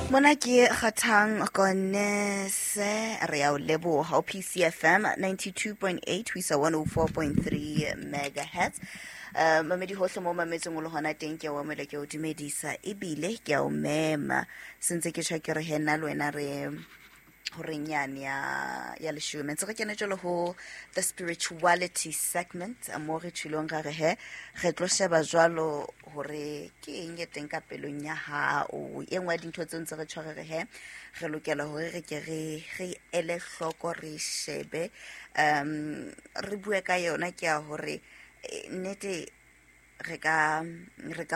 Mona ke Kgathang Konese, re ya o leboha ho PCFM 92.8 ho isa 104.3 megahertz. Mamedi hohle mo mametseng o le hona teng, ke a o amohela, ke a o dumedisa ebile ke a o mema. Sentse ke tjho ke re he nna le wena re horeng yane ya leshome ntse re kene jalo ho the spirituality segment, mo re tjhilong ra re he re tlo sheba jwalo hore ke eng e teng ka pelong ya hao. E nngwe ya dintho tseo ntse re tjho re re he re lokela hore re ke re ele hloko, re shebe, re bue ka yona, ke ya hore nnete re ka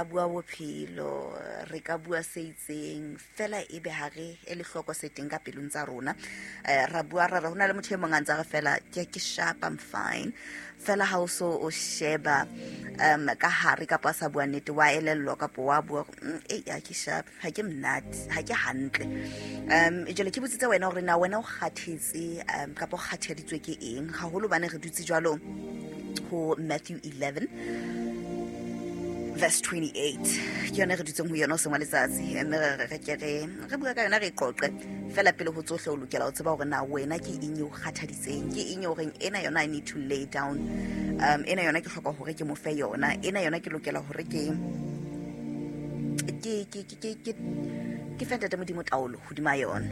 bua bophelo, re ka bua se itseng fela, ebe ha re ele hloko se teng ka pelong tsa rona. Ra bua ra re ho na le motho e mong a ntse a re fela ke sharp, I'm fine, fela ha o so o sheba ka hare kapa a sa bua nnete, wa elellwa kapa wa bua, ei, ha ke sharp, ha ke monate, ha ke hantle. Jwale ke botsitse wena hore na wena o kgathetse kapa o kgathaditswe ke eng haholo, bane re dutse jwalo ho Matthew 11 verse 28, ke yone re dutseng ho yona o seng wa letsatsi, mme re ke re bua ka yona, re qoqe fela. Pele ho tsohle o lokela ho tseba hore na wena ke eng e o kgathaditseng, ke eng e horeng ena yona I need to lay down, ena yona ke hloka hore ke mo fe yona, ena yona ke lokela hore ke fe Ntate Modimo taolo hodima yona.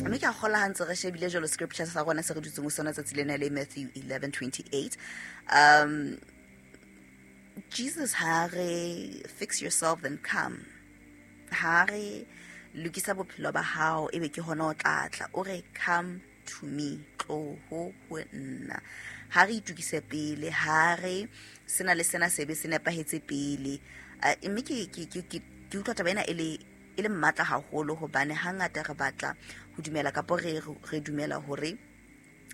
Mme ke a kgola ha ntse re shebile jalo scripture sa rona se re dutseng ho sona tsatsi lena le Matthew 11:28, Jesus ha re fix yourself then come, ha re lokisa bophelo ba hao ebe ke hona o tla tla, o re come to me, tloho ho nna. Ha re itukise pele, ha re sena le sena sebe se nepahetse pele. Mme ke utlwa taba ena e le mmatla haholo, hobane hangata re batla ho dumela kapo re dumela hore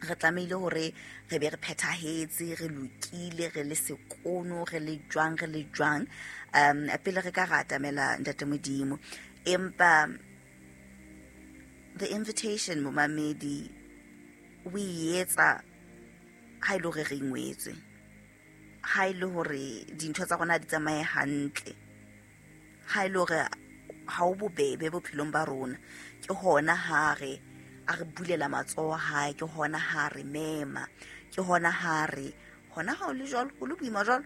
re tlamehile hore re be re phethahetse, re lokile, re le sekono, re le jwang, re le jwang, pele re ka ra atamela Ntate Modimo. Empa the invitation, momamedi, o e etsa ha e le hore re ingwetswe, ha e le hore dintho tsa rona di tsamaye hantle, ha e le hore ha o bobebe bophelong ba rona, ke hona ha re a re bulela matsoho hae, ke hona ha re mema, ke hona ha re hona ha o le jwalo, o le boima jwalo,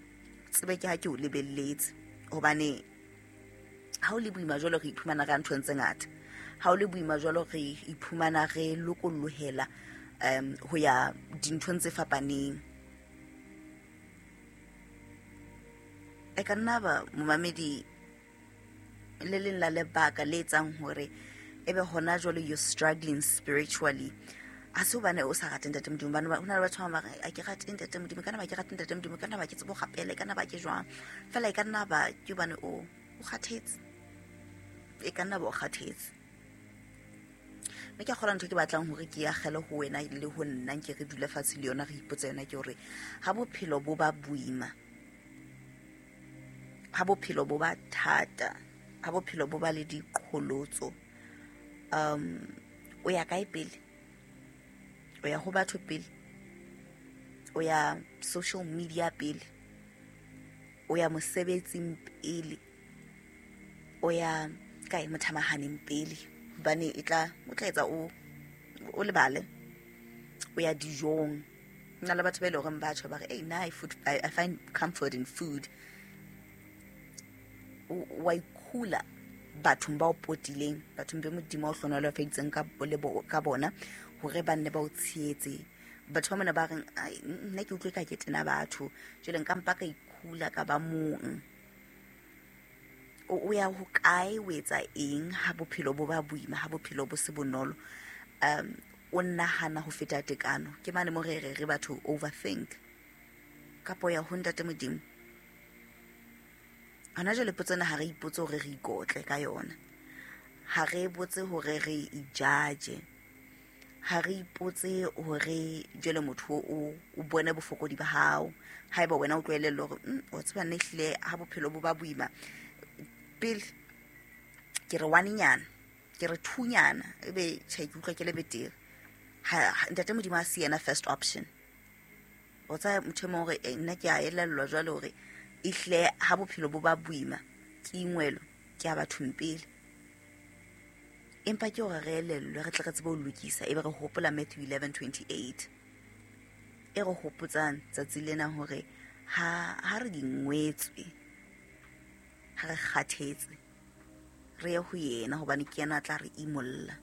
tsebe ke ha ke o lebelletse. Hobane ha o le boima jwalo, re iphumana re ya nthong tse ngata. Ha o le boima jwalo, re iphumana re lokollohela ho ya dinthong tse fapaneng. E ka nna ba momamedi le leng la lebaka le etsang hore ebe hona jwale you're struggling spiritually, ha se hobane o sa rate Ntate Modimo. Hobane ho na le batho ba bang ba re, a ke rate Ntate Modimo, ka nna ba ke rate Ntate Modimo, ka nna ba ke tsebe ho rapela, e ka nna ba ke jwang fela, e ka nna ba ke hobane o kgathetse, e ka nna ba o kgathetse. Mme ke a kgolwa ntho ke batlang hore ke akgele ho wena le ho nna, nke re dule fatshe le yona, re ipotse yona, ke hore ha bophelo bo ba boima, ha bophelo bo ba thata, ha bophelo bo ba le diqholotso, o ya kae pele? O ya ho batho pele? O ya social media pele? O ya mosebetsing pele? O ya kae mothamahaneng pele? Hobane e tla o tla etsa o lebale. O ya dijong? Nna le batho ba e leng horeng ba tjho ba re, ei nna I find comfort in food. Wa ikhula bathong ba o potileng, bathong be Modimo o hlonolofaditseng ka bona hore ba nne ba o tshehetse. Batho ba mona ba reng, ai, nna ke utlwe ka ke tena batho, jwale nka mpa ka ikhula ka ba mong. O ya hokae, o etsa eng ha bophelo bo ba boima, ha bophelo bo se bonolo? O nahana ho feta tekano, ke mane mo re re batho overthink, kapo ya ho Ntate Modimo? Hona jwale potso ena ha re ipotse hore re ikotle ka yona, ha re botse hore re ijaje, ha re ipotse hore jwale motho o bone bofokodi ba hao. Haeba wena o tlohellele hore, wa tseba nna ehlile ha bophelo bo ba boima pele ke re one-nyana, ke re two-nyana, ebe tjhe, ke utlwa ke le betere. Ha Ntate Modimo a se yena first option, o tsaya motho e mong hore, nna ke a elellwa jwale hore ehlile ha bophelo bo ba boima ke ingwelo, ke ya bathong pele. Empa ke hore re elellwe, re tle re tsebe ho lokisa, ebe re hopola Matthew 11:28 e re hopotsang tsatsi lena hore ha re dingwetswe, ha re kgathetse, re ye ho yena hobane ke yena a tla re imolla.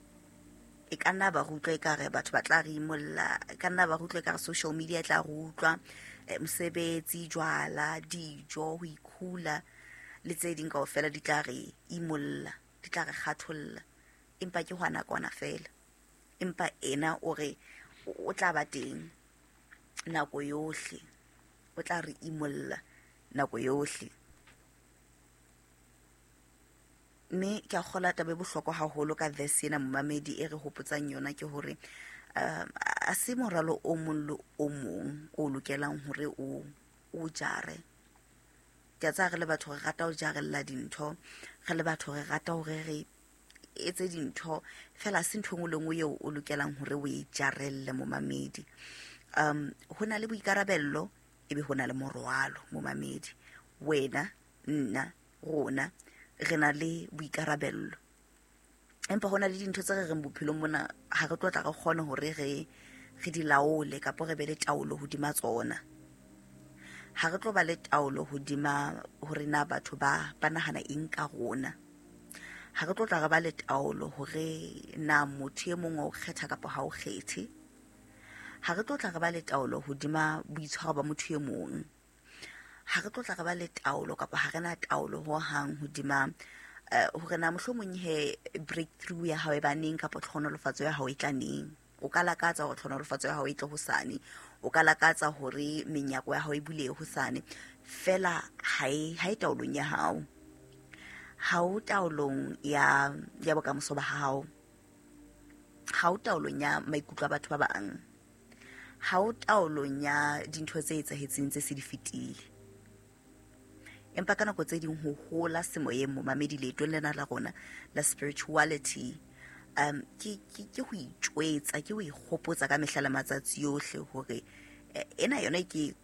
E ka nna ba re utlwa ekare batho ba tla re imolla, e ka nna ba re utlwa ekare social media e tla re utlwa, mosebetsi, jwala, dijo, ho ikhula le tse ding kaofela di tla re imolla, di tla re kgatholla. Empa ke hwa nakwana feela. Empa ena o re o tla ba teng nako yohle, o tla re imolla nako yohle. Mme ke a kgola taba e bohlokwa haholo ka verse ena momamedi e re hopotsang yona ke hore a se moralo o mong le o mong o lokelang hore o jare. Ke a tseba re le batho re rata ho jarella dintho, re le batho re rata hore re etse dintho, fela se ntho e nngwe le nngwe eo o lokelang hore o e jarelle momamedi. Ho na le boikarabello, ebe ho na le morwalo momamedi. Wena, nna, rona re na le boikarabello, empa ho na le dintho tse re reng bophelong mona ha re tlo tla re kgone hore re di laole kapa re be le taolo hodima tsona. Ha re tlo ba le taolo hodima hore na batho ba nahana eng ka rona. Ha re tlo tla re ba le taolo hore na motho e mong wa o kgetha kapa ha o kgethe. Ha re tlo tla re ba le taolo hodima boitshwaro ba motho e mong. Ha re tlo tla re ba le taolo kapa ha re na taolo ho hang hodima hore na mohlomong he breakthrough ya hao e ba neng kapa tlhonolofatso ya hao e tla neng. O ka lakatsa hore tlhonolofatso ya hao e tle hosane, o ka lakatsa hore menyako ya hao e bulehe hosane, fela ha e taolong ya hao. Ha o taolong ya bokamoso ba hao. Ha o taolong ya maikutlo a batho ba bang. Ha o taolong ya dintho tse etsahetseng tse se di fetile. Empa ka nako tse ding ho hola semoyeng momamedi leetong lena la rona la spirituality, ke ho itjwetsa, ke ho ikgopotsa ka mehla le matsatsi yohle hore ena yona e ke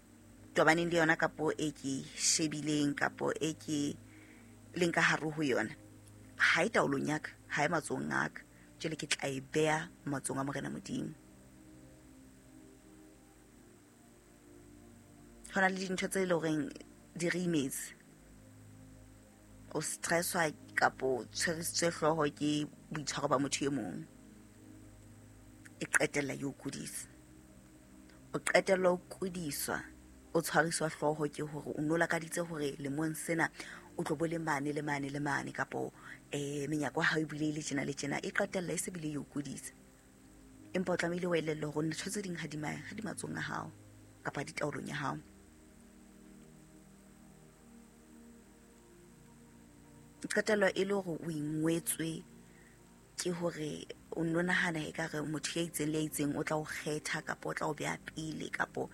tobaneng le yona kapo e ke shebileng kapo e ke leng ka hare ho yona, ha e taolong ya ka, ha e matsohong a ka. Jwale ke tla e beha matsohong a Morena Modimo. Ho na le dintho tse leng horeng di re imetse. O stresswa kapo tshwerisitswe hlooho ke boitshwaro ba motho e mong, e qetella e o kudisa. O qetella o kudiswa, o tshwariswa hlooho ke hore o no lakaditse hore lemong sena o tlo bo le mane le mane le mane, kapo menyako ya hao e bulehile tjena le tjena, e qetella e se bile e o kudisa. Empa o tlamehile o elellwe hore ntho tse ding ha di matsohong a hao kapa di taolong ya hao. Qetelo e le hore o ingwetswe ke hore o no nahana ekare motho ya itseng le ya itseng o tla o kgetha kapa o tla o beha pele kapo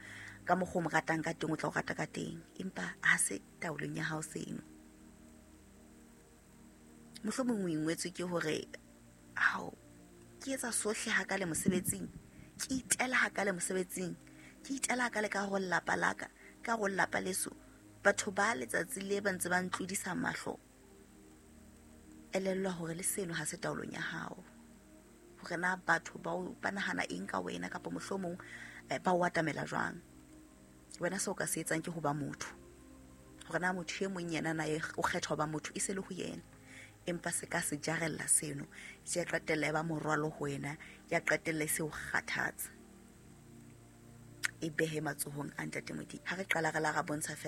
ka mokgwa o mo ratang ka teng o tla o rata ka teng, empa ha se taolong ya hao seno. Mohlomong o ingwetswe ke hore hao ke etsa sohle ha ka le mosebetsing, ke itela ha ka le mosebetsing, ke itela ha ka le ka ho lelapa la ka, ka ho lelapa leso, batho ba letsatsi le ba ntse ba ntlodisa mahlo. Elellwa hore le seno ha se taolong ya hao, hore na batho ba nahana eng ka wena kapa mohlomong ba o atamela jwang. Wena seo ka se etsang ke ho ba motho, hore na motho e mong yena na o kgetha ho ba motho e se le ho yena, empa se ka se jarella seno, se ya qetella e ba morwalo ho wena, ya qetella e se o kgathatsa. E behe matsohong a Ntate Modimo. Ha re qala re la ra bontsha fela